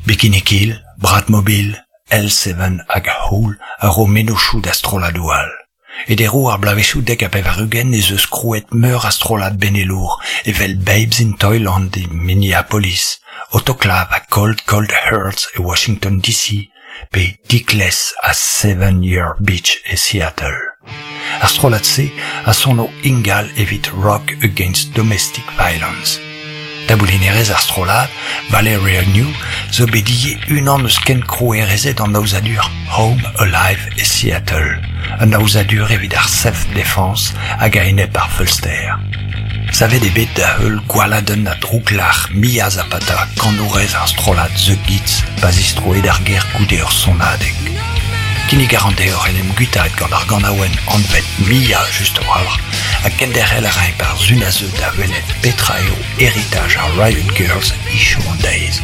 Bikini Kill, Bratmobile, L7 hag Hole a ro mennozhioù da strolladoù all. E deroù ar bloavezhioù 90 ez eus krouet meur a strollad benelour evel Babes in Toyland e Minneapolis, Autoclave ha Cold Cold Hearts e Washington DC pe Dickless ha Seven Year Beach e Seattle. Ar strollad-se a sono ingal evit Rock Against Domestic Violence. Taboulinerez ar strollad, Valeria New, zo bet ivez unan eus kenkrouerezed an aozadur Home Alive e Seattle, un aozadur evit ar self-defense hag a-enep ar feulster. Savet eo bet da heul gwaladenn ha drouklac'h Mia Zapata, kanourez ar strollad The Gits, pa zistroe d'ar gêr goude ur sonadeg. Kinnig a ran deoc'h en em guitaat gant ar ganaouenn anvet Mia just a-walc'h ha kenderc'hel a raimp ar sun a zeu da welet petra eo heritaj ar Riot Girls hiziv an deiz.